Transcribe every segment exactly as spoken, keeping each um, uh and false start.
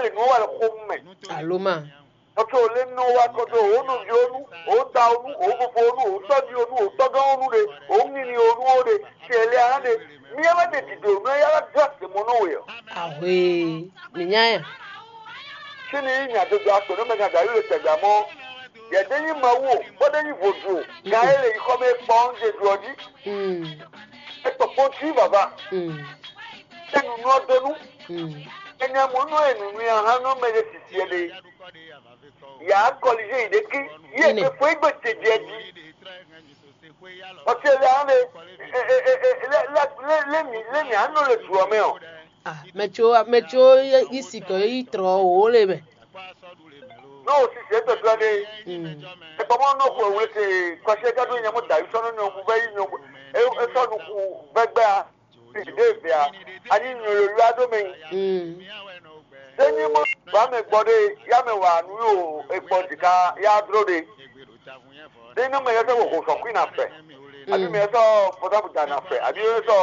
lé nǔ wa ɖo xomɛ. Alo ma. Kɔtɔ lé nɔ wa kɔtɔ o nɔvi o nu, o da o nu, o fofo o nu, o tɔ́ví o nu, o tɔ́gán o nu ɖe, o nini o nu o ɖe, sɛlɛ a ɖe. Mi ya wá ɖe dìde o nu ya wá dó àtɛmɔ nɔ we ɔ. Ahwe, mi nya ya. Sini yi nya dodo akpɛ nɔ mɛ nya da yi le tɛgbɛ amɔ. Yɛ de nyi Mawu o, bɔ de nyi vodu o. Ga e le yi xɔ mɛ kpɔn de du ɔ jí. Mm. E kpɔkpɔn ti vava. Mm. E nu nɔ do nu. Mm. E nya mɔ nɔ e nu nu ya ha nɔ mɛ de sisi e de. Ya kɔlize yi ɖeki. Ye Ine. Efo igbe te jɛ di. Ɔtí ɛlɛ hã lé lé mì lé mì anɔ le jǔ ɔ́ mɛ ɔ. Ah, mɛ tso mɛ tso yi sikɔ yi trɔ wò le mɛ. N'o sisi etɔtɔ ɖe. Mm. Ekpɔmɔ nɔ xɔ wle te kɔsɛ gado nyɛ mo da yi sɔnɔ nyɔ mo vɛ yi nyɔ e e sɔ nu ku vɛgbɛ a. Ɖe vɛ a. Ani nyɔ yo yo ado mɛ. Mm. Sɛ nyi mɔ ba mɛ gbɔ ɖe ya mɛ wa nu yo ekpɔ dika ya dro ɖe. Ɖe nɔ mɛ yɛ sɔ xo sɔ kui na fɛ. Abi mɛ yɛ sɔ pɔtabu da na fɛ. Abi yɛ sɔ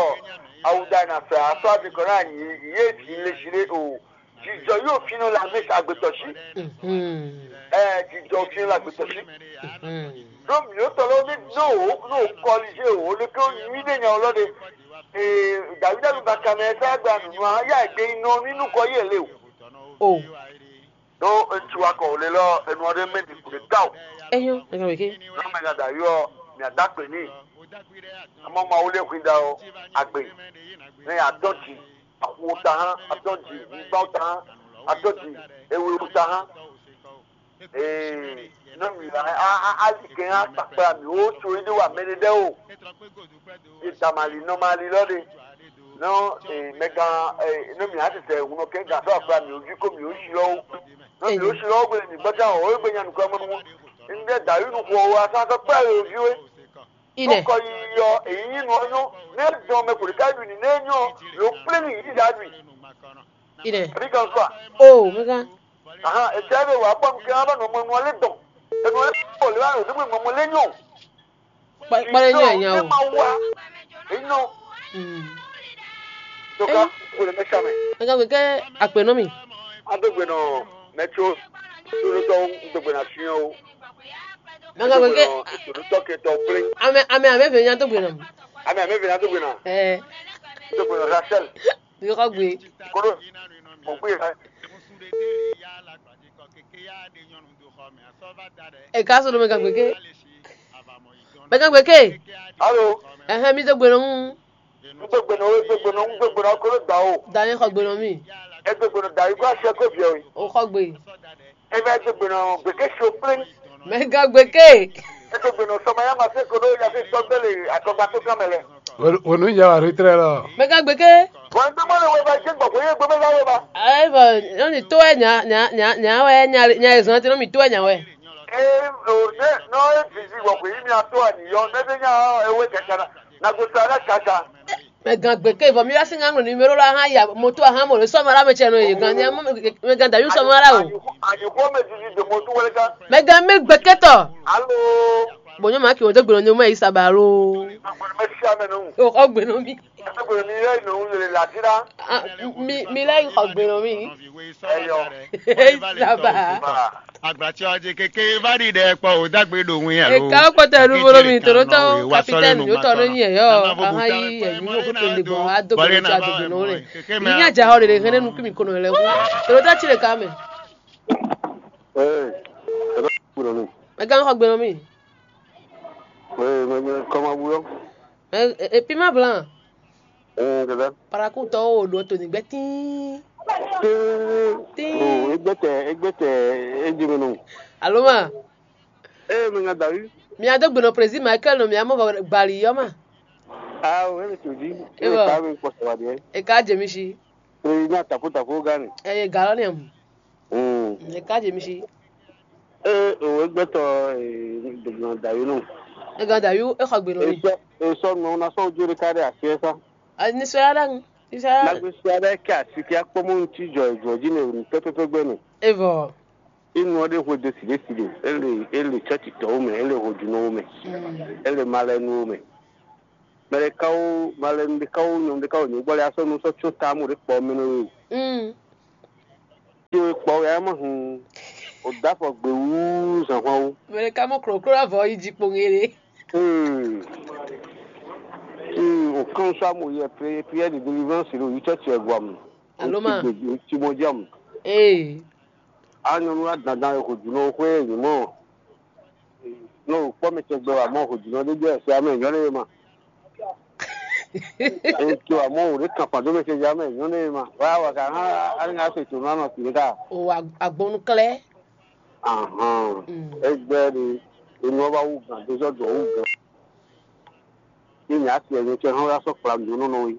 awu da na fɛ. Asɔ ati kɔ na yi ye ti le si ɖe o. Jijɔ yóò fi nɔ la mɛ sa agbetɔ si. Mhm. Ɛ jijɔ fi nɔ la agbetɔ si. Mhm. Ɖo mǐ tɔ lɔ ní ɖo wò ɖo kɔlize wò ní kó nyui ɖe nya lɔ ɖe. Ee, Dawidi anu ba kanɛ sá gba nunu a ya gbe nɔ nínú kɔ yé lé o. O. Ɖó ŋutsu wa kɔ wòle lɔ enu ɔ́ ɖé mɛ ɖi kǔɖé ta o. Eyo, ega weke. Nɔ mɛ nya da yɔ mia da gbe ní. Amɔ ma wòle hwin da o agbe. Ne ya dɔn dzi axu ta hã, adɔn dzi nyigba ta hã, adɔn dzi ewe ta hã. Ee, nɔ mi a a a ali kɛ hã kpakpla mi wo tso yi ɖe wa mɛ ɖe ɖe o. Ye da mali nɔ mali lɔ ɖe. Nɔ ee mɛgan ee nɔ mi a tete ŋunɔ kɛ gan sɔ akpla mi o vi ko mi o si lɔ o. Nɔ mi o si lɔ o gbe mi gbɔta o o gbe nya nukɔ mɔ nu. N ɖe da yi nu xɔ o a sa sɔ kpla yi o vi we. Ine. Kɔ yi yɔ èyí nyí nu ɔ́ nyɔ́. Ne dɔn mɛ kò lè ká ɖu nǐ ne nyɔ́ lo plé nì yí ɖa ɖu. Ine. Àbí kan kɔ a? O, mɛgan. Ahan, ètò ɛ̀rẹ́ wà á bọ̀ nù kí wọ́n bá nù ọmọ ẹnu ọlẹ́ dàn. Ẹnu ọlẹ́ pọ̀ lè wá rò nígbà ìmọ̀ ọmọ lẹ́yìn o. Kpɔlɛ nyɛ nya o. Ema wa. Enyo. Mm. Toka kò lè mẹ́ta mẹ́. Mɛgan gbeke akpe nɔ mi. Adógbe nɔ mɛtso. Lórí tɔ dógbe nà fi o. Mɛgan gbeke. Dógbe nɔ ètò tɔ kẹtọ plé. Ame ame ame fɛ nya dógbe nɔ. Ame ame fɛ nya dógbe nɔ. Ɛɛ. Dógbe nɔ Rachel. Yɔkɔ gbe. Koɖo mɔgbé yɛ. Eka sɔrɔ mɛ gagbe ke. Mɛ gagbe ke. Alo. Ɛhɛn, mi do gbe nɔ mu. N gbé gbe nɔ wé gbé gbe nɔ n gbé gbe nɔ kolo da o. Dani xɔ gbe nɔ mi. E gbé gbe nɔ da yi kó aṣọ kó biɛ o. O xɔ gbe. E bɛ gbé gbe nɔ gbé ké so plé. Mɛ gagbe ke. E gbé gbe nɔ sɔmɔ ya ma se koɖo ya se sɔgbélé akɔgba tó kán mɛ lɛ. Wonu ya wa retrɛ lɔ. Mɛ gagbe ke. Wọn gbé mɔ lè wọ ibà jẹ gbọgbọ yé gbé bẹ láwọ ibà. Ayi bɔ, nɔ mi tó wɛ nya nya nya nya wɛ nya nya ezɔn ti nɔ mi tó wɛ nya wɛ. Ee o ne nɔ e didi gbọgbọ yé mi ató àníyọ ne bẹ nya ewé kẹkẹ na na go sa na kaka. Mɛ gagbe ke vɔ mi wá sí ŋá ŋlɔ numéro la hã ya moto ahã mɔ lè sɔmɔ la mɛ tsɛ nɔ yé gan nya mɛ gan dayu sɔmɔ la o. Àyùkọ́ mẹ didi dè mọ tó wọlé ká. Mɛ gan mɛ gbɛkɛtɔ. Alo. Bɔnyɔ ma kì í wọn tó gbèrò ní ọmọ yìí sábà alo. Agbọ̀nmẹ́ sí amẹnu. O kò gbèrò mi. Agbọ̀nmẹ́ mi yẹ ìnáwó lè làdírà. Ah, mi mi lẹ́yìn kò gbèrò mi. Ẹyọ. Sábà. Agbatsɔ dzi keke va ɖi ɖe kpɔ o dagbe ɖo ŋu ya lo. Eka kpɔtɔ nu bolo mi toro tɔ kapitɛni yóò tɔ nu nyi yɛ yɔ. Aha yi yɛ mi wo kutu ndi bɔ ado bolo tsi ado bolo ne. Yi nya dza xɔ ɖeɖe hɛnɛ nu kí mi kono lɛ wu. Toro tɔ tsi ɖe ka mɛ. Ee, ebe kúrò mi. Mɛ gã xɔ gbɛnɔ mi. Ee, mɛ mɛ kɔma wuyɔ. Ɛ ɛ pi ma blan. Ee, dada. Paraku tɔ wo ɖo to ni gbɛ tii. Tee. Tii. O egbɛtɛ egbɛtɛ edze mi nɔ. Alo ma. Ee, mi nya davi. Mi ado gbɛnɔ président Michael nɔ mi amɔ bali yɔ ma. Ah, o ele to di. Ewɔ. Ele ka mi kpɔ sɛ wa diɛ. E ka jɛ mi si. Président tapo tapo gani. Eye galɔ ni amu. Mm. E ka jɛ mi si. Ee, o egbɛtɔ ee dɔgbɔn davi nɔ. E gan davi e xɔ gbɛnɔ mi. Esɔ esɔ nɔ na sɔ ojú rẹ ká dé àfi ẹ sá. Nisɔya ɖaŋu. Nisɔya. Nagbe sɔya ɖe kɛ asi kí akpɔmɔ ŋuti jɔ jɔ dzi ne pɛpɛpɛ gbɛ ne. Evɔ. Inú ɔɖe hwe de si ɖe si ɖe ele ele tsɔtsi tɔwo mɛ ele hojunɔwo mɛ ele malɛnuwo mɛ. Mɛ ɖe kawo malɛnu ɖe kawo nyɔnu ɖe kawo nyɔnu gbɔ le asɔ nu sɔ tso tamu ɖe kpɔ mɛ nɔ yi. Mm. Tso Ɔ yɛ mɔ hun. O dafɔ gbe wú zɔnhɔn wú. Mɛ ɖeka mɔ kloklo ɖo avɔ yi jí kpɔn ŋele. Hmm. Hmm, o kan sɔ mo yɛ prière de délivrance lo yi church e guam. Alo ma. Ti mo jam. Ee. A nyɔnu a dandan e ko dunu o xwe ni mo. No kpɔ mi tɛ gbɛ wa mo ko dunu de de se ame nyɔ ne ma. E to amo o de kan pa do mi tɛ ja me nyɔ ne ma. Wa wa ka ha a ni se to na no ti ka. O agbɔnnu klɛ. Ahɔn. Egbe ni enu ɔ́ wá wú gǎn dó zɔ dɔ̌ wú gǎn. Ní nyɛ asi ɛnyɛ cɛ hɔn wá sɔ́ kpla nǔ nɔ nɔ wí.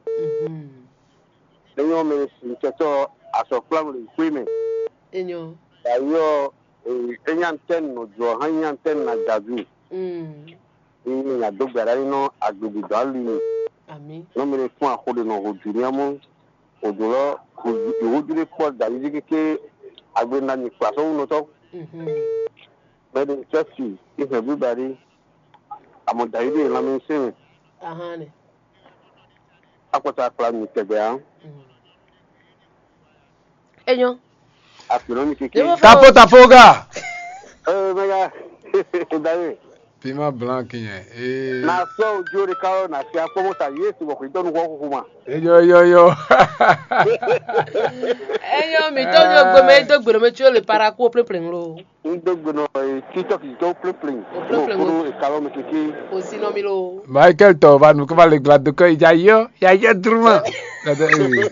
Enyɔ mɛ sin cɛtɔ asɔ kpla mɛ xwé mɛ. Enyɔ. Dayɔ, enyɔ antɛn nɔ jɔ hã nyɔ antɛn na javi. Ní nyɛ adó gbɛɖá ní nɔ agbègbè dɔ̌ ali mi. Nɔ mɛ fún axo ɖe nɔ ho jù ní amú. Òdò lɔ ìwújú ɖé kpɔ dàbí kéké agbe na nyi kpa sɔ́ wúnɔtɔ́. Mɛ ɖe cɛ́si í hɛn bíba ɖé. Amɔ Dawidi e lanmɛ sín mɛ. Ahán nɛ. Akpɔta akpla mi tɛgbɛ á. Enyɔ. Akplɔ mi kéké. Tapo tapo ga. Ee mɛga. Dawidi. Pima blanc kinyɛ. Ee. Na sɔ ojú orí káró na si akpɔmɔ ta Yesu bɔ kò dɔnu kɔ kúkú ma. Eyɔ eyɔ eyɔ. Enyɔ mi tó ní ogbe mɛ dó gbèrò mɛ tí ó lè para kú ó plé plé ŋlo. N dó gbenɔ e TikTok yi tó plé plé. O plé plé ŋlo. Kúrú e kalɔ mi kéké. O si nɔ mi lo. Michael tɔ va nu kó va le gla dó kɔ yi ja yɔ ya yɔ druma. Dada ee.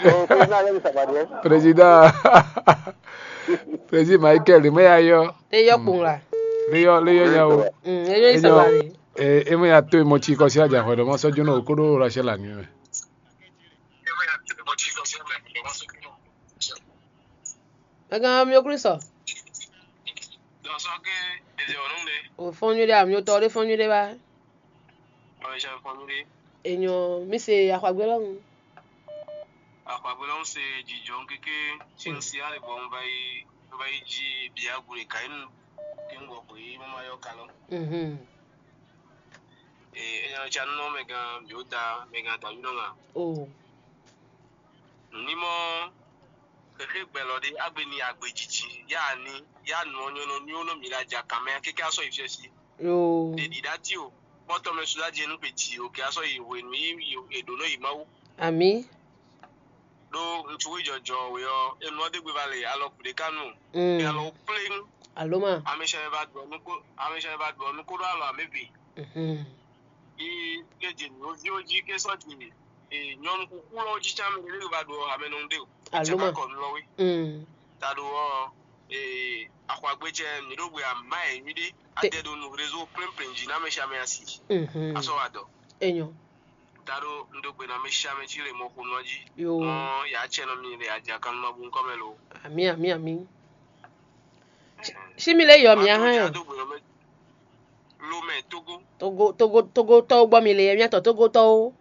O ko na yɛ mi saba diɛ. Président. Président Michael, mɛ ya yɔ. Lé yɔ kpɔn la. Lé yɔ lé yɔ nya o. Mm, e yɔ yi saba le. E e mɛ ya to e mɔ tsi kɔ si aja hwɛ dɔ mɔ sɔ jónɔ o kó ɖó Rachel la nuit mɛ. Mɛgán mi ò Kristo. Dɔsɔ ke èdè ọ̀nù le. O fɔn nyuɖe amiotɔ ɖe fɔn nyuɖe ba. Ɔyɛ fɔn nyuɖe. Enyɔ mi se axwagbe lɔnu. Axwagbe lɔnu se jijɔ kéké tí n si ale bɔ n va yi n va yi jí biagu ɖe ka yi nu kí n gbɔ xwe yi mama yɔ kalɔ. Mhm. Ee enyɔ tsa nɔ mɛgán biota mɛgán dawinɔ ŋa. O. Nǔnímɔ xexé gbɛlɔ ɖé agbe ni agbejiji ya ni ya nɔ nyɔnɔ nyɔnɔ mi la ja kan mɛ kéké asɔ yi fiɔ si. Ɖe ɖiɖa ti o kpɔtɔ mɛ suda jɛ nu kpe ti o kɛ asɔ yi hwenu yi yi eɖo nɔ yi mawu. Ami. Ɖó ŋutsu wé jɔjɔ wé ɔ enɔ ɖe gbe va le alɔ kuɖe kanu. Mm. Alɔ pléŋ. Alo ma. Amesiame va ɖɔ nu ko amesiame va ɖɔ nu ko ɖo alɔ amebe. Mhm. Yi ke dze nɔviwo jí ke sɔ dze nyɔnu kuku lɔ jí tsa mɛ ɖe va ɖo amɛnɔnu ɖe o. Alo ma. Kɔ nu lɔ wé. Mm. Ta ɖo ɔ ee axwagbe cɛ mi ɖo gbe ama yɛ nyuiɖe. Adɛ ɖo nu réseau plein plein jí na mɛ siame asi. Mhm. Asɔ wa dɔ. Enyɔ. Ta ɖo n ɖo gbe na mɛ siame cí le mɔ xo nɔ jí. Yo. Mɔ ya cɛ nɔ mi le adza kan nɔ bu nkɔ mɛ lo. Ami ami ami. Si mi le yɔ mi ahán yɔ. Lomɛ Togo. Togo Togo Togo tɔwo gbɔ mi le yɛ miatɔ Togo tɔwo.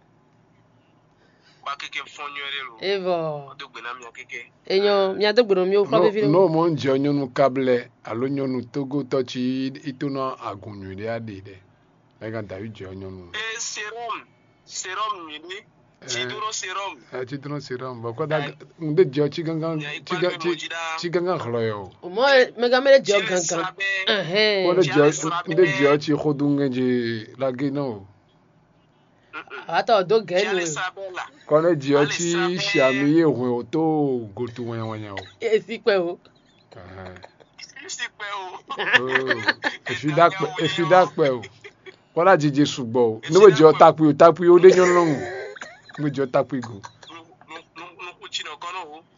Kpa keke fɔn nyuɛ ɖe lo. Evɔ. Dó gbe na mia keke. Enyɔ mia dó gbe nɔ mi o kpa vivi. No mo ń jẹ nyɔnu kablɛ alo nyɔnu Togo tɔ ci ito na agun nyui ɖe aɖe ɖe. Mɛ gan dawi jẹ nyɔnu. E serum serum nyui ɖe. Cidro serum. Ɛ cidro serum bɔ kɔda n de jɛ ɔtsi gangan tsi gangan xlɔ yɛ o. O mɔ mɛ gan mɛ de jɛ ɔ gangan. Ɛhɛn. Kɔ de jɛ n de jɛ ɔtsi xodo ŋɛ dzi lage na o. Awa tɔ do gɛ nu. Kɔ ne jɛ ɔtsi siami ye hwɛ o to goto wɛnyɛwɛnyɛ o. Esi kpɛ o. Ɛhɛn. Esi kpɛ o. Efi da kpɛ efi da kpɛ o. Kɔla jiji sugbɔ o. Ne bɛ jɔ takpui o takpui o de nyɔnu lɔnu. Ne bɛ jɔ takpui go.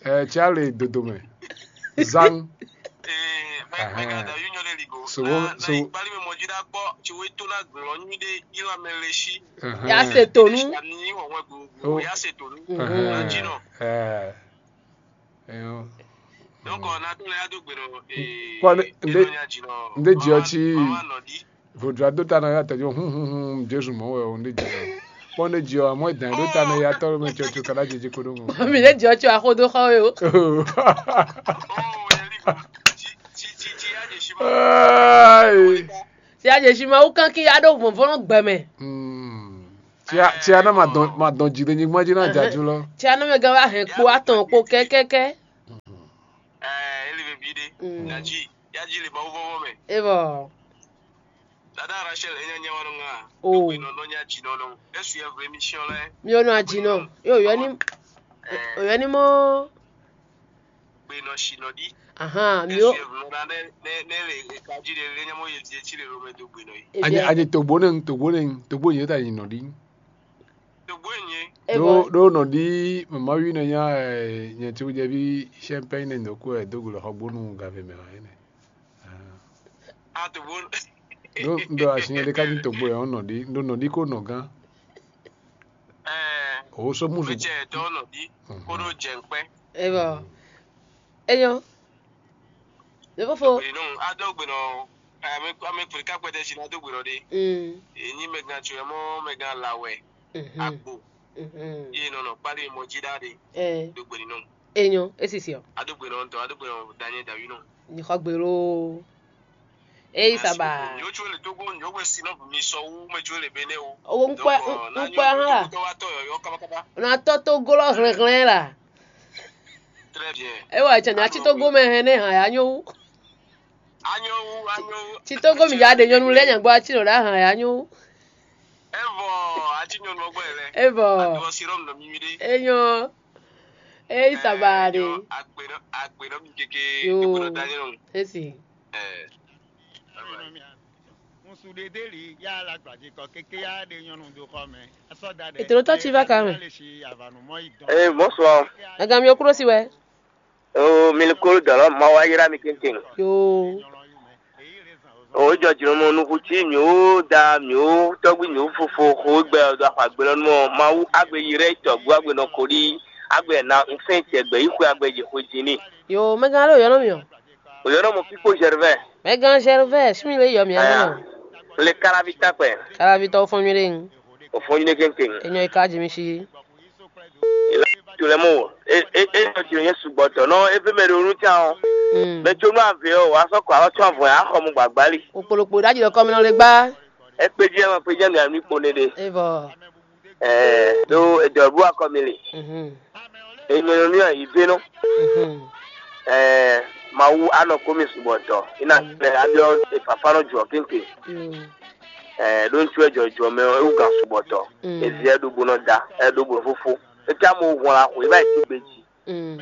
Ɛ tia le dodo mɛ. Zan. Sobo sobo. Ya se tonu. Ya se tonu. Ɛ. Eyo. Donc on a tout les ado gbero. Kpɔ ne nde nde dzi ɔtsi vodua do ta na ya tɛdzo hun hun hun Jesu mɔ wɛ o nde dzi ɔ kpɔ nde dzi ɔ amɔ edan do ta na ya tɔ mɛ tsɔ tso kana dzedze ko do mɔ. Mi ne dzi ɔtsi axo do xɔ we o. Ai. Si a dze si ma wú kankin ya ɖo vɔnvɔn gbɛ mɛ. Tia tia na ma dɔn ma dɔn dzi ɖe nyigba dzi na dzadzu lɔ. Tia na mɛ gan wa hɛn kpo atɔn kpo kɛkɛkɛ. Nyaji, nyaji le Mawu vɔvɔ mɛ. Evɔ. Dada Rachel, enya nya wa nɔ ŋa. O. Gbe nɔ nɔ nya ji nɔ nɔ. Esu ya vre mission lɛ. Mi o nɔ aji nɔ. Yo, yo ni. O yo ni mɔ. Gbe nɔ shi nɔ di. Ahan, mi o. Esu ya vre nɔ ne ne ne le kaji le le nya mo ye ti ti le lo me do gbe nɔ yi. Ebi. Aje aje togbo ne togbo ne togbo ye ta yi nɔ di. Togbo enyi. Ɖó ɖó nɔ ɖi mama wi nɔ nya nyɛ tí wújɛ ví champagne nɛ ndɔ kú ɛ dó gblɔ xɔ gbónú gavɛ mɛ hàn ɛnɛ. A togbo. Ɖó ɖó asi nyɛ ɖé ká ní togbo ɛ ɔn nɔ ɖi ɖó nɔ ɖi kó nɔ gán. Ɛɛ. O sɔ musu. Mɛ cɛ tɔ nɔ ɖi kó ɖó jɛ nkpɛ. Evɔ. Enyo. Levofo. Gbe nɔ adó gbe nɔ ame ame kpli ká kpɛtɛ si na dó gbe nɔ ɖe. Mm. Enyi mɛ gan tso ɛ mɔ mɛ gan la wɛ. Mhm. Agbo. Mhm. Ye nɔ nɔ kpali mɔ jí ɖa ɖe. Eh. Dó gbe nɔ. Enyo, esisi ɔ. Adó gbe nɔ ntɔ adó gbe nɔ danye dawi nɔ. Ni xɔ gbe lo. Eyi saba. Nyo tso le togo nyo we si nɔ mi sɔ wu mɛ tso le bene o. Owo nkpɛ nkpɛ hã la. Tɔ wa tɔ yɔyɔ kabakaba. Na tɔ togo lɔ hlɛnhlɛn la. Très bien. Ewa cɛ na ci togo mɛ hɛn ne hàn ya nyo. Anyo wu anyo wu. Ci togo mi ya ɖe nyɔnu lɛ nyagbo aci nɔ ɖe hàn ya nyo. Evɔ ati nyɔnu ɔgbɛ lɛ. Evɔ. Adɔ si rɔm nɔ mi mi ɖe. Enyo. Eyi saba ɖe. Agbe nɔ agbe nɔ mi keke. Yo. Kekun nɔ da nyɔnu. Esi. Ɛ. Ŋsu ɖe deli ya la gbadze kɔ keke ya ɖe nyɔnu do xɔ mɛ. Ètò ló tọ́ tí va kà mẹ́. Ee, bonsoir. Ẹ̀gàn mi ò kúrò sí wẹ́. Oo, mi ní kó dɔ̀lọ́ ma wá yíra mi kéńkéń. Yoo. Oo, jɔ jìnnà mɔ nukun tí mi ó da mi ó tɔgbi mi ó fofo xo gbɛ ɔdɔ axɔ agbe lɔ nú mɔ Mawu agbe yi rɛ tɔgbu agbe nɔ ko ɖi agbe na nsɛn tɛ gbɛ yi xwe agbe yi xwe din ni. Yoo, mɛgán ló yɔnɔ mi ɔ. O yɔnɔ mɔ Pipo Gervais. Mɛgán Gervais, sumi lé yɔ mi ɛ. Le karavi takpɛ. Karavi tɔ fɔn mi ɖe. O fɔn mi ɖe kéńkéń. Enyɔ yi ka jimi si. Ìlà tó lɛ mɔ wò. E e e nɔ jò yẹn sugbɔ tɔ nɔ e fẹ́ mɛ ɖo nu tán o. Mɛ tó nú avě o, wà á sɔ́ kɔ alɔ tún avɔ yà á xɔ mu gbàgbá li. Òpòlòpò dájú lọ kọ́ mi nɔ lè gbá. Ẹ kpé jí ẹ ma kpé jí ẹ nù àmì kpo ne ɖe. Evɔ. Ẹ ɖó edɔ bú akɔ mi li. Mhm. Ènìyàn mi ọ̀ yìí bínú. Mhm. Ẹ Mawu anɔ kó mi sugbɔ tɔ. Iná tẹ abiɔ ìfàfà nɔ jù ọ kéńké. Mm. Ɛ ɖó ŋutsu ɛ jɔjɔ mɛ ɔ ewu gan sugbɔ tɔ. Mm. Evi ɛ ɖo bo nɔ da ɛ ɖo bo nɔ fófó. Eke amɔ hɔn la xɔ eba yi ti gbe ji. Mm.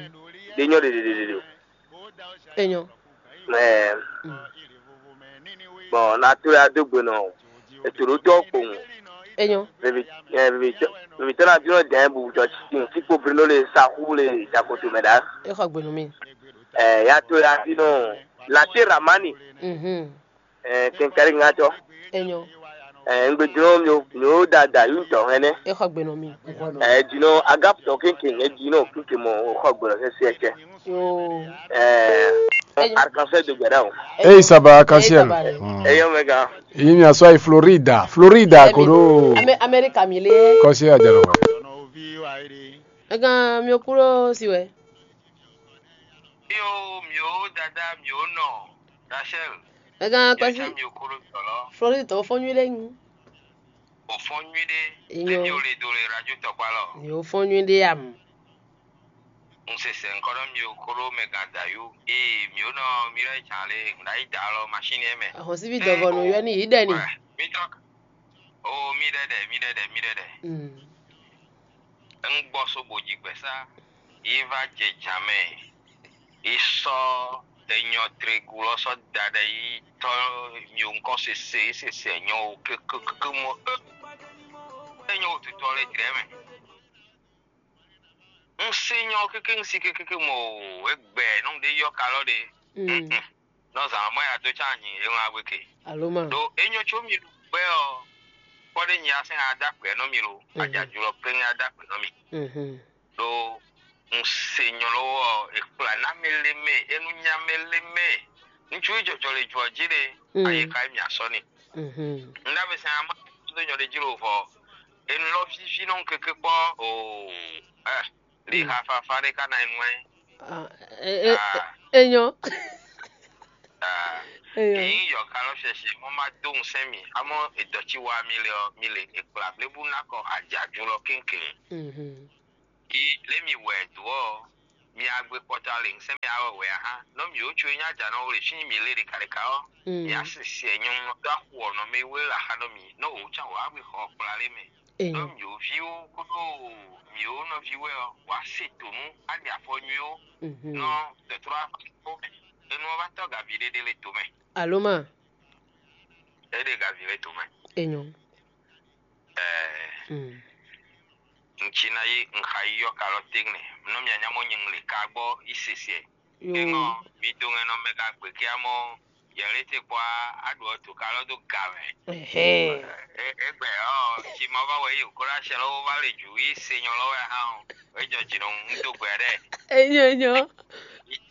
Ɖe nyɔ ɖeɖeɖeɖe. Enyo. Ɛɛ. Mm. Bɔn na to ya do gbe nɔ eto ɖo tɔ kpowun. Enyo. Vivi ɛ vivi tɔ vivi tɔ na bi nɔ dɛn bu jɔ ti ti kpo bri nɔ le saxu le jakoto mɛ ɖa. Exɔ gbe nɔ mi. Ɛ ya to ya bi nɔ late ramani. Mhm. Ɛ kɛnkɛri ŋa tɔ. Enyo. Ɛ ŋgbe dino mi o mi o da da yu tɔ hɛnɛ. Exɔ gbe nɔ mi. Ɛ dino agap tɔ kénké ɛ dino kénké mɔ o xɔ gbɔdɔ sɛ sɛ cɛ. Yoo. Ɛ arkansɛ do gbɛdá o. Ei saba arkansɛ. Ei saba. Ɛ yɔ mɛ gan. Yi mi asɔ yi Florida Florida koɖo. Amɛ Amerika mi le. Kɔsi ajalɔ wɛ. Egan mi o kúrò si wɛ. Yo, mio dada, mio nɔ, Rachel. Ẹ̀gán kpẹ́sí. Mio kúrò tọ̀lọ́. Florida tó fọ́n nyuí lé yín. Ò fọ́n nyuí dé. Iyán. Lẹ́mi ò lè dò lè rájú tọ̀pá lọ. Yóò fọ́n nyuí dé àmú. N se sɛ nkɔnɔ mio kúrò mɛ gàdá yó. Ee, mio nɔ mi rɛ jà lé, ŋdá yí dà lɔ machine yɛ mɛ. Àwọn síbi dɔ̀gọ̀ nù yọ ní yìí dẹ̀ ni. Mi tọ́. O mi ɖɛɖɛ, mi ɖɛɖɛ, mi ɖɛɖɛ. Mm. Ŋgbɔ so bò jǐgbɛ́sá, yi va jɛ jan mɛ, yi sɔ́ enyɔ tregu lɔ sɔ́ da ɖɛ yi tɔ́ mio ŋkɔ sese yi sese nyɔ o kékékéké mɔ é nyɔ o tutɔ lɛ jlɛ mɛ. Un se nyɔ kéké un si kékéké mɔ o, egbɛ nɔ ɖe yɔ kalɔ ɖe. Mm. Mm-mm. Nɔ zan mɔ ya dó tsa nyi e ŋlá gbe ke. Alo ma. Ɖo enyɔ tso mi ɖu gbɛ ɔ, kpɔ ɖe nyi asɛn ada gbɛ nɔ mi lo, mhm, adzadzɔ lɔ pɛn ada gbɛ nɔ mi. Mhm. Ɖo un se nyɔ lɔ ɔ, e kpla na mɛ le mɛ, e nu nya mɛ le mɛ. Ŋutsu yi jɔjɔ le jɔ ji ɖe, mm, ayi ka mi asɔ ni. Mhm. Nda be sɛn ama do nyɔ ɖe ji lo vɔ. Enu lɔ vivi nɔ keke kpɔ o. Eh. Li ha fafa ɖe ka na enu ɛ. Ah, e e enyɔ. Ah. Enyɔ. Eyi yɔ kalɔ sɛsɛ mo ma do ŋusɛn mi amɔ edɔtsi wa mi le ɔ mi le ekpla blebu nakɔ adzadzu lɔ kéŋkéŋ. Mhm. Yi lé mi wɛ do ɔ Mi agbe kpɔtɔ ale ŋsɛn mi awɔ wɛ aha. Nɔ mi o tso nya ja nɔ wle fí mi le ɖe ka ɖe ka ɔ. Mi asisi ɛ nyɔnu nɔ dɔ axu ɔ nɔ mi wle la xa nɔ mi. Nɔ o tsa wa agbe xɔ kpla le mɛ. Nɔ mi o vi o kodo mi o nɔ vi wɛ ɔ wa se tonu ali afɔ nyui o. Nɔ tɔtrɔ afɔ mɛ. Enu ɔ va tɔ gavi ɖe ɖe le to mɛ. Alo ma. E ɖe gavi le to mɛ. Enyo. Ɛɛ. Mm. Ŋtsi ná yí ŋxa yí yɔ kalɔ téŋnɛ. Nɔ mia nya mɔ nyi ŋle ka gbɔ yi sese. Yo. Eŋɔ mi do ŋɛ nɔ mɛ ka gbe kia mɔ yɛlɛ te kpɔ a ɖu ɔtu kalɔ do ga mɛ. Ehe. Egbɛ ɔ tsi ma va wɛ yi o kó ɖo asɛ lɔ wo va le ju yi se nyɔ lɔ wɛ hã o. Ejɔ dzi nɔ ŋu do gbɛ ɖɛ. Enyo enyo.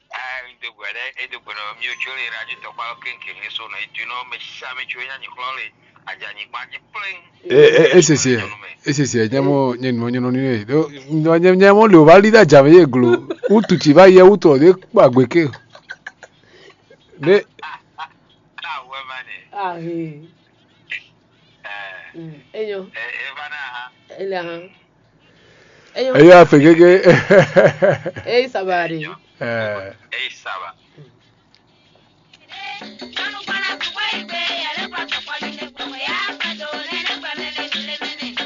Aa, mi do gbɛ ɖe, e do gbɛ nɔ mi o tso le radio tɔkpa lɔ kéŋkéŋ ní so nɔ e do nɔ mɛ sisa mi tso nya nyi xlɔ le aja nyi gba ji plɛŋ. E e e sese e sese e nyɛ mɔ nyɛ nɔ nyɛ nɔ ni e do nyɛ nyɛ mɔ le o va li da jam ye glo utu tsi va yɛ utu ɔ de kpa gbe ke de. Awɛ ma ne. Ahe. Ɛ Mm, enyo. Ɛ e va na ha. Ele ahan. Enyo. Eya fe gege. Ei sabari. Ɛ Ei saba.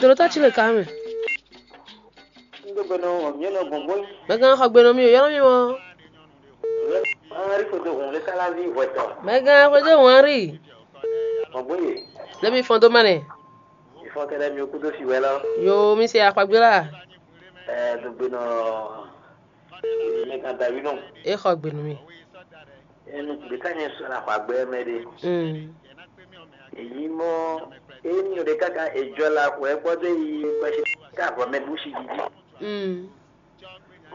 Dolo ta chile kame. Ndo bɛ nɔ mí nɔ gbɔngbɔn. Mɛ gán xɔ gbe nɔ mí o, yɔnɔ mí mɔ. Henri foto hun le kala vi vɔtɔ. Mɛ gán xɔ dé wọn rí. Gbɔngbɔn ye. Lɛmi fɔn dó mɛ nɛ. Ifɔ kɛlɛ mi kudo si wɛ lɔ. Yo, mi se akpagbe la. Ɛ dogbe nɔ. Mɛ kan davi nɔ. E xɔ gbe nɔ mí. Enu de ka nyɛ sɔ la xɔ agbɛ mɛ de. Mm. Èyí mɔ enu de kaka ejɔ la xɔ ɛ kpɔdé yi kpɛsi ka vɔ mɛ busi didi. Mm.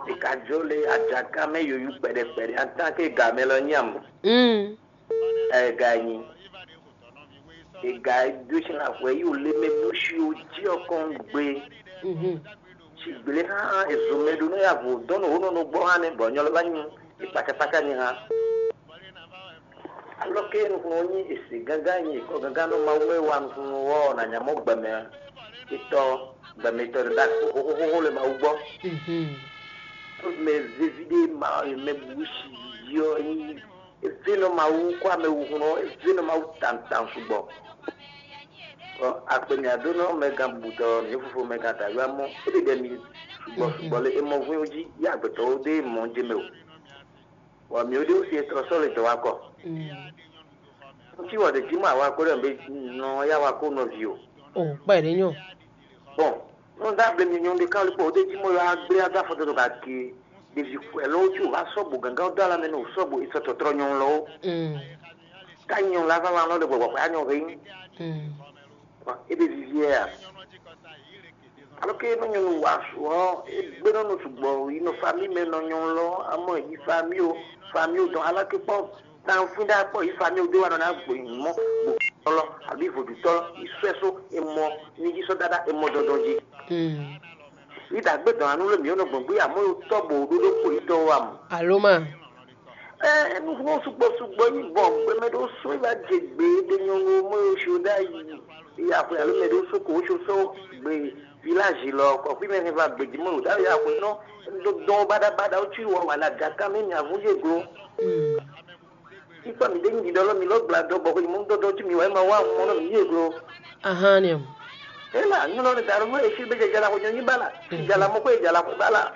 È ka jó le ajaka mɛ yoyu kpɛɖɛ kpɛɖɛ en tant que gamɛ lɔ nyam. Mm. Ɛ ga nyi. È ga dó sin la xwɛ yi o le mɛ bó si o jí ɔkɔn gbe. Mhm. Si gblé hã ezomɛ ɖo nɔ ya vo dɔn nɔ wonɔ nɔ gbɔ hã nɛ bɔ nyɔ lɔ va nyi ekpakakpaka nyi hã. Alɔ ke nukun ɔ nyi ese gángan nyi ekɔ gángan nɔ Mawu mɛ wa nukun ɔ na nya mɔ gbɛmɛ etɔ gbɛmɛ etɔ ɖe ɖa xoxoxoxo le Mawu gbɔ. Mhm. Mɛ vevi ɖe ma mɛ bu si yi ɔ nyi eve nɔ Mawu kɔ amɛ wu hun ɔ eve nɔ Mawu tantan sugbɔ. Ɔ akpe mɛ adó nɔ mɛ gan bubutɔ ní fofo mɛ gan dayɔ amɔ ebe ɖe mi sugbɔ sugbɔ le emɔ vun jí ya agbetɔwo ɖe mɔ jɛ mɛ o. Bɔ mǐ ɖe wú si e tlɔ sɔ́ le dɔ̌ wá kɔ. Ŋutí wɔ ɖě jí mɔ awako ɖɔ mɛ nɔ yá wako nɔví o. O kpɛ ɖé nyɔ. Bɔn nɔ da ble mi nyɔnu ɖe kan kpɔ ɖe jí mɔ yɔ agble aga fɔ dodo ka ke ɖevi kwɛ lɔ wotí o va sɔ bo gangan do ala mɛ nɔ sɔ bo isɔ tɔtrɔ nyɔnu lɔ wo. Ka nyɔnu la va wa nɔ ɖe gbɔgbɔ kɔ anyɔ hɛn. Ebe vivi yɛ ya. Alo ke nɔ nyɔnu wa su ɔ egbe nɔ nɔ sugbɔ yi nɔ fami mɛ nɔ nyɔnu lɔ amɔ yi fami o fami o dɔn ala ke kpɔ tan fún ɖe akpɔ yi fami o de wa nɔ na gbo yi mɔ gbo tɔlɔ abi vodutɔ yi sɔɛ so emɔ ni ji sɔ dada emɔ dɔdɔ ji. Yi dagbe dɔn anu le mi nɔ gbɔn gbe amɔ yo tɔ bo ɖoɖo kpo yi tɔ wa mu. Alo ma. Ɛ nuxunɔ sugbɔ sugbɔ yi bɔ gbɛmɛ ɖo so yi va dze gbe ɖe nyɔnu mɔ yo si o ɖe ayi yi axwe alo mɛ ɖo so ko wo so so gbe village lɔ kɔkui mɛ hɛn va gbeji mɔ yo ɖe ayi axwe nɔ ɖo dɔn baɖa baɖa wo tsi wɔ wala gaka mɛ mi avu ye glo. Ikpɔ mi ɖe nyi ɖiɖɔ lɔ mi lɔ gbla dɔ bɔ ko yi mɔ dɔdɔ tsi mi wa ma wa mɔ nɔ mi ye glo. Ahan ni. Ela nyɔnɔ ɖe da ɖo mɔ efi be jɛ jala ko nyɔ nyi bala. Jala mɔ ko ye jala ko bala.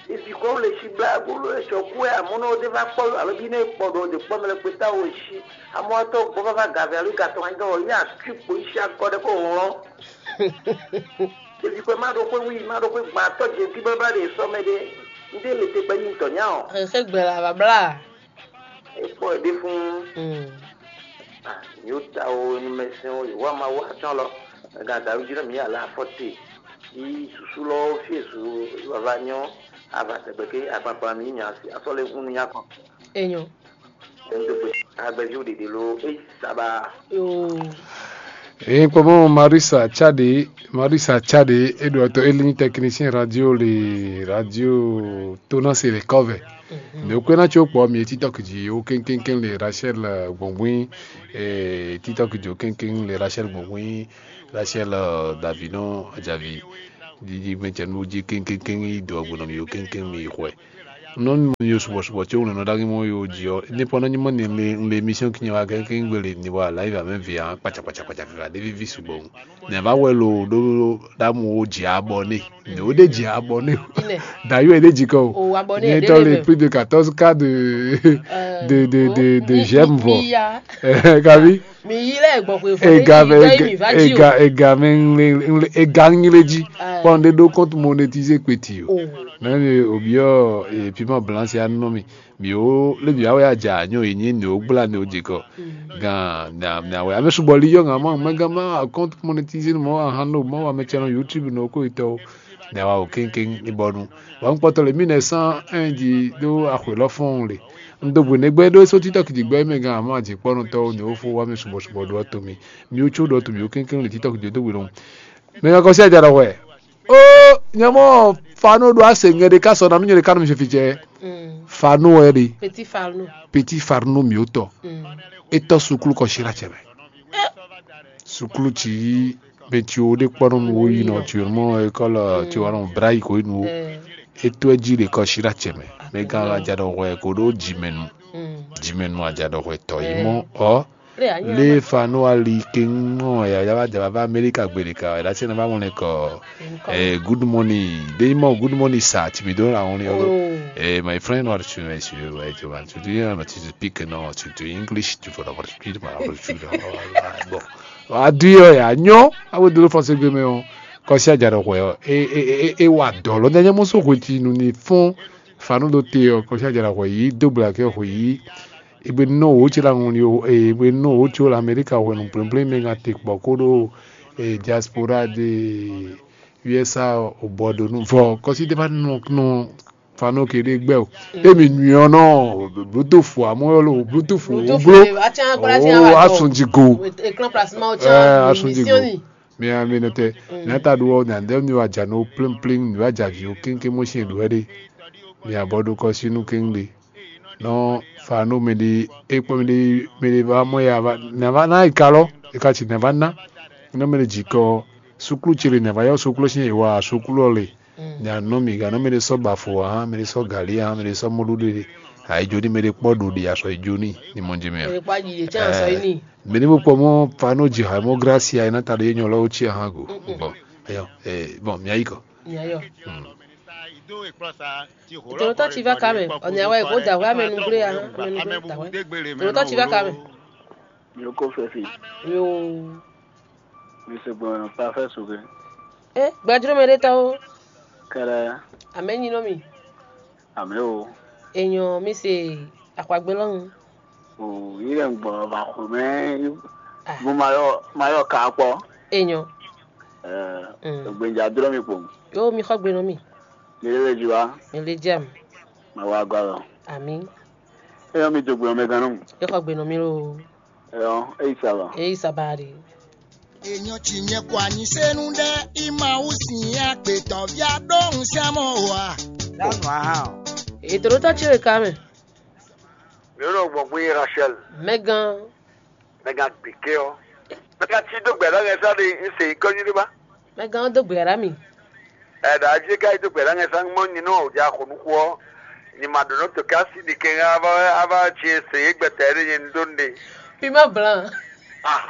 Evi kɔ le si bla gbolo esɔ ku ɛ amɔ nɔ de va kpɔ alo bi ne kpɔ ɖo de kpɔ mɛ le kpeta wo si amɔ tɔ gbɔ va va gave alo gatɔ wa dɔ ya tu kpo isi akɔ ɖe ko hlɔn. Evi kɔ ma ɖo ko wi ma ɖo ko gba tɔ je bi bla bla de sɔ mɛ de nde le te gbe yi tɔ nya o. Ese gbɛ la babla. Ekpɔ ɛ ɖe fún. Yóò ta o numɛsɛn o yòówá ma wá tán lɔ. Gàdá jí náà mi yà lá afɔ te. Yi susu lɔ fiesu vava nyɔ ava tɛgbɛ ke akpakpa mi nya si asɔ le hun nya kɔn. Enyo. Ɛn do gbe agbɛvi o ɖeɖe lo eyi saba. Yoo. Eyin kpɔmɔ Marisa Chade, Marisa Chade, eɖo ɔtɔ eli nyi technicien radio le radio Tona se le kɔvɛ. Mɛ kpɛ́ ná tso kpɔ mi TikTok jí wo kéŋkéŋkéŋ le Rachel Gbɔngbɔn, eh, TikTok jí wo kéŋkéŋ le Rachel Gbɔngbɔn, Rachel Davino Ajavi. Jiji mɛ cɛ nu jí kéŋkéŋkéŋ yi dɔ gbɔn nɔ mi yo kéŋkéŋ mi yi xwɛ. Nɔ mi yo subɔ subɔ tí wònɔ nɔ ɖagí mɔ yo jí ɔ, ní pɔnɔ ní mɔ ní le le émission kinyɛ wa kéŋkéŋ gbélé ní wa live amɛ via kpatsa kpatsa kpatsa kaka ɖé vivi sugbɔ. Nɛ va wɛ lo ɖó ɖamu wo jí abɔné. Nɛ wo ɖé jí abɔné. D'ailleurs e ɖé jí kɔ o. Ní etɔ le plus de quatorze cas de de de de de j'aime vɔ. Kabi. Mi yi lɛ gbɔ xwe fɔ ega ne mi yi mi va ji o. Ega ega mɛ ŋle ŋle ega ŋle ji. Kpɔn ɖe ɖo compte monétisé kpeti o. Nɛ mi obiɔ e piment blanc ya nɔ mi. Mi o le mi awe aja nyɔ yi nyi ne o gbla ne o jikɔ. Gan na na wɛ ame subɔ li yɔ ŋa ma mɛ gan ma compte monétisé mɔ ahan no mɔ wa mɛ cɛ nɔ YouTube no ko itɔ. Nɛ wa o kéŋkéŋ ní bɔnu. Wa ŋkpɔtɔ le mille neuf cent un ji ɖó axwe lɔ fɔ́n le. Un do gbe nɛgbɛ ɖó só títɔ kìdí gbɛ mɛ gan amɔ ajǐkpɔ́nutɔ́ ní wó fó wá mì subɔsubɔ ɖó ɔ́ to mì. Mi wú có ɖó ɔ́ to mì wú kéŋkéŋ le títɔ kìdí dó gbe lɔn. Mɛ kan kɔsí aja ɖɔ hwɛ. Ó nyɛ mɔ fanu ɖo ase ŋɛ ɖe ká sɔ na nú nyɛ ɖe ká nɔ mi fi cɛ. Fanu wɛ ɖe. Petit Farno. Petit Farno mi wó tɔ. Étɔ suklu kɔ sira cɛ mɛ. Suklu ci mɛ ci wo ɖe kpɔ́ nɔ nu wo yi nɔ ci mɔ école ci wa nɔ bra yi ko yi nu wo. Étɔ ɛ ji ɖe kɔ sira cɛ mɛ. Mɛ gan la ja ɖɔ hwɛ ko ɖo jimɛ nu. Jimɛ nu aja ɖɔ hwɛ tɔ yi mɔ ɔ. Le fa no ali ke ŋɔ ya ya va ja va Amerika gbe ɖe ka ya se na va ŋlɛ kɔ. Eh, good morning. They more good morning sir. Ti mi do la ŋlɛ ɔ. Eh, my friend, what you know is you right, you want to do you know to speak no to to English to for the speak my. Bon. Aduyɔ ya nyɔ awo dolo fɔse gbe mɛ o. Kɔsi aja ɖɔ hwɛ ɔ e e e e wa dɔ lɔ nyanya mɔ so hweti nu ni fɔn. Fanu ɖo te ɔ kɔsi aja ɖɔ hwɛ yi do gbla kɛ hwɛ yi. Egbe nɔ wo tsi la ŋun yo egbe nɔ wo tsi la Amerika hwɛ nu plɛnplɛn mɛ ŋa te kpɔ ko ɖo diaspora de U S A o bɔ do nu vɔ kɔsi de va nɔ nɔ Fanu ke ɖe gbɛ o. Emi nui ɔ́ nɔ Bluetooth amɔ yɔ lo Bluetooth o blo o asunji go. Asunji go. Mi a mi nɔ tɛ. Nata ɖo ɔ nya ndɛ mi wa dza no plim plim mi wa dza vi o kéŋkéŋ mo si ɖo ɛɖe. Mi abɔ ɖo kɔ si nu kéŋ ɖe. Nɔ Fanu mi ɖi ekpɔ mi ɖi mi ɖi va mɔ ya va na va na yi ka lɔ. Eka ci na va na. Nɔ mi ɖi dzi kɔ suklu ci ɖe na va yɔ suklu si yi wa suklu ɔ le. Nya nɔ mi gǎn nɔ mɛ ɖé sɔ́ bafo ǎ, mɛ ɖé sɔ́ galí ǎ, mɛ ɖé sɔ́ mɔɖuɖu ɖé. Ayǐjó ní mɛ ɖé kpɔ́ ɖo ɖi asɔ yi jó ní ní mɔ jɛ mɛ ǎ. Mɛ ɖé mɔ kpɔ mɔ Fano ji hǎ mɔ glási ǎ, é ná ta ɖo yé nyɔ lɔ ó cí ahán go. Bɔn ayɔ bɔn mǐ ayí kɔ. Tòlótɔ́ ci va ka mɛ, ɔ̀nì àwa è kó dàwé amɛnugbé ǎ, amɛnugbé dàwé. Tòlótɔ́ ci va ka mɛ. Yo ko fɛfi. Yo. Mi se gbɔn pa fɛ su ke. Eh, gbajúmọ̀ ɖé tɔ́ ó. Kɛlɛ. Amɛ nyi nɔ mi. Amɛ o. Èèyàn mi se àpagbé lọ́hùn. O yi lɛ gbɔ ba xɔ mɛ. Mo ma yɔ ma yɔ ka kpɔ. Èèyàn. Ɛ gbɛnja dúró mi kpo. Yóò mi xɔ gbe nɔ mi. Mi lè ju wa. Mi lè jam. Ma wa gɔ lɔ. Àmì. Eyɔ mi dogbe ɔmɛ gannú. Yóò xɔ gbe nɔ mi lóo. Eyɔ eyi saba. Eyi saba de. Èèyàn tì yẹn kò àní sẹ́nu dẹ́ ìmọ̀ òsìn àgbètọ̀ bí adóhùn sẹ́mọ̀ wà. Ètò ló tọ́ tí ó yẹ ká mẹ́. Mi ò lọ gbọ̀n pé Rachel. Mẹ́gàn. Mẹ́gàn gbèké ọ́. Mẹ́gàn tí dógbè lọ́gẹ̀ sáré ń ṣe ìkọ́jú ní bá. Mẹ́gàn dógbè rà mí. Ɛda aji ka yi do gbɛɖa ŋɛ sa ŋmɔ nyi nɔ o ja xo nuxu ɔ. Nyi ma ɖo nɔ to kasi ɖi kɛ ŋa ava ava tsi se ye gbɛtɛ ɖe nye ŋdo ŋɖe. Pima blan. Ah.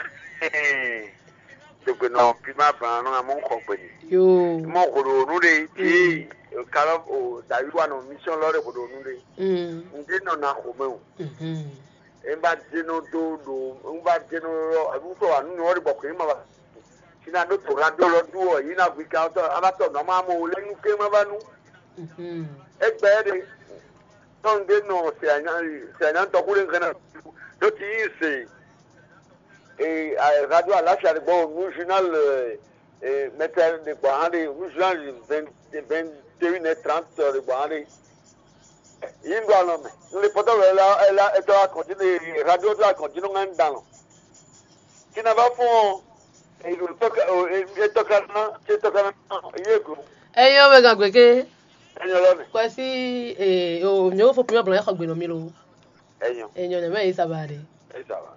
Dogbe nɔ pima blan nɔ ŋa mɔ ŋkɔ gbe ni. Yo. Mɔ xo ɖo nu ɖe ti kalɔ o dayi wa nɔ mission lɔ ɖe xo ɖo nu ɖe. Mm. Ŋde nɔ na xo mɛ o. Mhm. Ŋba dze nɔ do ɖo ŋba dze nɔ lɔ ŋutɔ wa nu nyɔ ɖe bɔ kò yi ma ba. Sina ɖo to ha do lɔ du ɔ yi na gbi kan tɔ aba tɔ nɔ ma mo le nu ke ma ba nu. Egbe ɖe tɔn de nɔ se anya se anya tɔ ku ɖe ŋkana do ti yi se. E radio alafia ɖe gbɔ nu journal mɛtɛ ɖe gbɔ hã ɖe nu journal vingt et une heures trente ɖe gbɔ hã ɖe. Yi ŋɖo alɔ mɛ. Un lè pɔtɔ wɛ la la etɔ akɔnti ne radio to akɔnti no ŋa ŋda lɔ. Tina va fún ọ. Eyi ɖo tɔka o etɔka na etɔka na ye go. Eyin ɔmɛ gan gbeke. Enyo lɔ mɛ. Kwɛsi ee o nyɛ wo fo pimɛ blanc xɔ gbe nɔ mi lo. Enyo. Enyo ne mɛ yi saba de. Eyi saba.